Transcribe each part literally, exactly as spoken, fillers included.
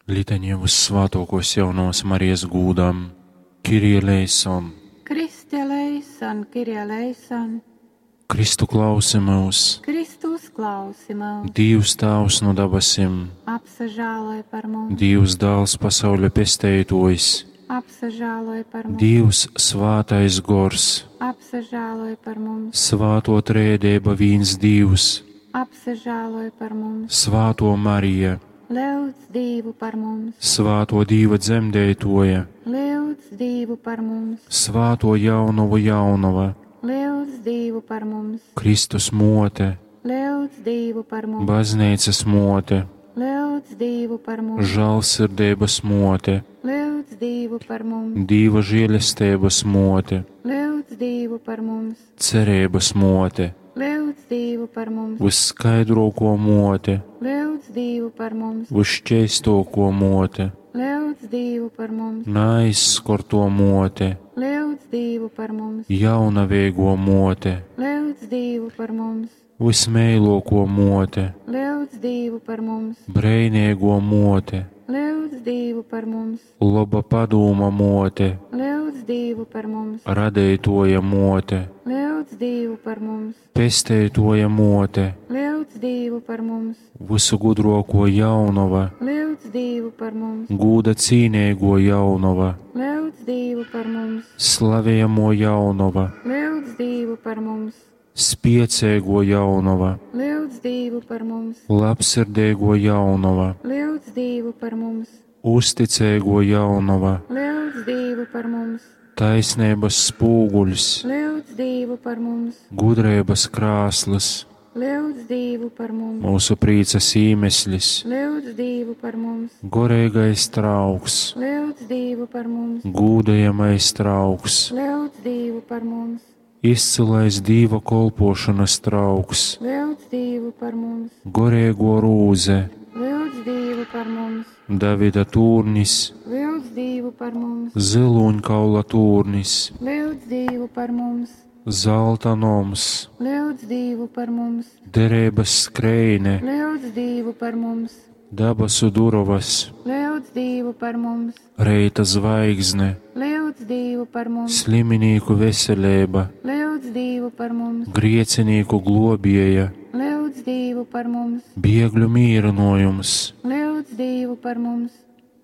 Litaņa Vyssvātuokuos Jaunovys Marijas gūdam. Kyrie eleison! Christe eleison, Kyrie eleison! Kristu klausi myus! Kristu uzklausi myus! Dīvs Tāvs nu dabasim! Apsažāloj par mums! Dīvs Dāls pasauļa pesteituojs! Apsažāloj par mums! Dīvs Svātais Gors! Apsažāloj par mums! Svātuo Trejadeiba vīns Dīvs! Apsažāloj par mums! Svātuo Marija! Lyudz Dīvu par mums! Svātuo Dīva dzemdeituoja! Lyudz Dīvu par mums! Svātuo Jaunovu Jaunova! Lyudz Dīvu par mums! Kristus muote! Lyudz Dīvu par mums! Bazneicas muote! Lyudz Dīvu par mums! Žālsirdeibas muote! Lyudz Dīvu par mums! Dīva žēlesteibas muote! Lyudz Dīvu par mums! Cereibas muote! Lyudz Dīvu par mums! Vysskaidruokuo muote! Lyudz Dīvu par mums! Vysšķeistuokuo muote! Lyudz Dīvu par mums! Naaizskortuo muote! Lyudz Dīvu par mums! Jaunaveiguo muote! Lyudz Dīvu par mums! Vysmeiluokuo muote! Lyudz Dīvu par mums! Breineiguo muote! Lyudz Dīvu par mums! Loba padūma muote! Lyudz Dīvu par mums! Radeituoja muote! Lyudz Dīvu par mums! Pesteituoja muote! Lyudz Dīvu par mums! Vysu gudruokuo jaunova! Lyudz Dīvu par mums! Gūda cīneiguo jaunova! Lyudz Dīvu par mums! Slavejamuo jaunova! Lyudz Dīvu par mums! Spieceiguo jaunova! Lyudz Dīvu par mums! Labsirdeiguo jaunova! Lyudz Dīvu par mums! Uzticeiguo jaunova! Lyudz Dīvu par mums! Taisneibys spūguļs! Lyudz Dīvu par mums! Gudreibys krāslys! Lyudz Dīvu par mums! Myusu prīcys īmeslis! Lyudz Dīvu par mums! Goreigais trauks! Lyudz Dīvu par mums! Gūdejamais trauks! Lyudz Dīvu par mums! Izcylais Dīva kolpuošonys trauks! Lyudz Dīvu par mums! Goreiguo rūze! Lyudz Dīvu par mums! Davida tūrnis! Lyudz Dīvu par mums! Zylūņkaula tūrnis! Lyudz Dīvu par mums! Zalta noms! Lyudz Dīvu par mums! Dereibys skreine! Lyudz Dīvu par mums! Dabasu durovys! Lyudz Dīvu par mums! Reita zvaigzne! Lyudz Dīvu par mums! Sliminīku veseleiba! Lyudz Dīvu par mums! Griecinīku globieja! Lyudz Dīvu par mums! Biegļu mīrynuojums! Lyudz Dīvu par mums!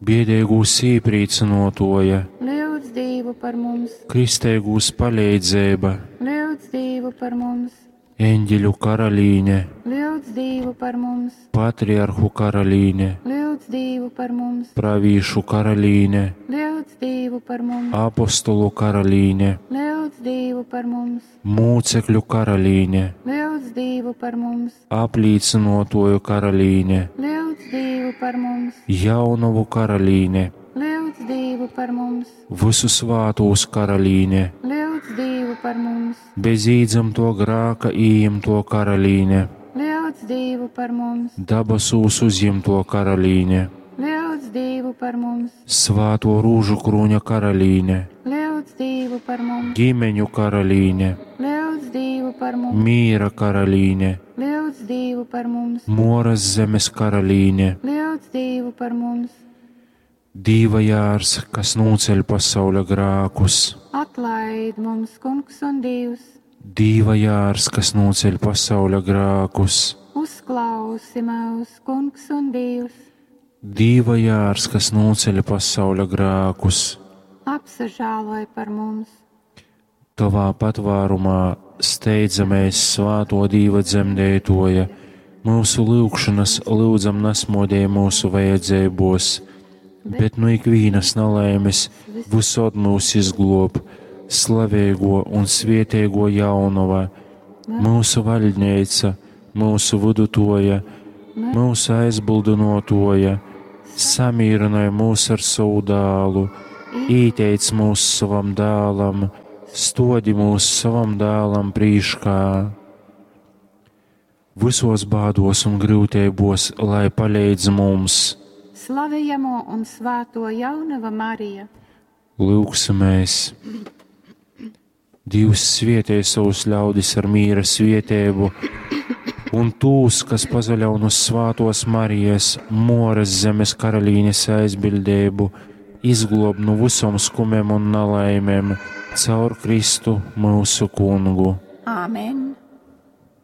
Biedeigūs īprīcynuotuoja! Lyudz Dīvu par mums! Kristeigūs paleidzeiba! Lyudz Dīvu par mums! Eņģeļu karalīne! Lyudz Dīvu par mums! Patriarhu karalīne! Lyudz Dīvu par mums! Pravīšu karalīne! Lyudz Dīvu par mums! Apostolu karalīne! Lyudz Dīvu par mums! Mūcekļu karalīne! Lyudz Dīvu par mums! Aplīcynuotuoju karalīne! Lyudz Dīvu par mums! Jaunovu karalīne! Lyudz Dīvu par mums! Vysu svātūs karalīne! Lyudz Dīvu par mums! Bez īdzymtuo grāka ījimtuo karalīne! Lyudz Dīvu par mums! Dabasūs uzjimtuo karalīne! Lyudz Dīvu par mums! Svātuo rūžukrūņa karalīne! Lyudz Dīvu par mums! Ģimeņu karalīne! Lyudz Dīvu par mums! Mīra karalīne! Lyudz Dīvu par mums! Moras zemes karalīne! Lyudz Dīvu par mums! Dīva jārs, kas nūceļ pasauļa grākus! Atlaid mums, Kungs un Dievs! Dīva jārs, kas nūceļ pasauļa grākus! Uzklausi mūs, Kungs un Dievs! Dīva jārs, kas nūceļ pasauļa grākus! Apsažāloj par mums! Tavā patvārumā steidzamies svāto Dīva dzemdētoja, mūsu lūgšanas lūdzam nasmodēj mūsu vajadzībos, bet nu ikvīnas nelaimes visod mūs izglob, slavēgo un svietēgo jaunova, mūsu vaļņeica, mūsu vidutoja, mūsu aizbildinotoja, samīrinoj mūs ar savu dālu, īteic mūs savam dālam, stodi mūs savam dālam prīškā. Visos bādos un grūtībos, lai palīdz mums! Slavējamo un svāto jaunava Marija! Lūgsimies! Dievs svietē savus ļaudis ar mīra svietēbu Un tūs, kas pasaļaun uz svātōs Marijas, Mōras Zemes karalīnes aizbiļdeibu, izglōb nu vysom skumem un nalaimem caur Kristu, myusu Kungu. Āmen.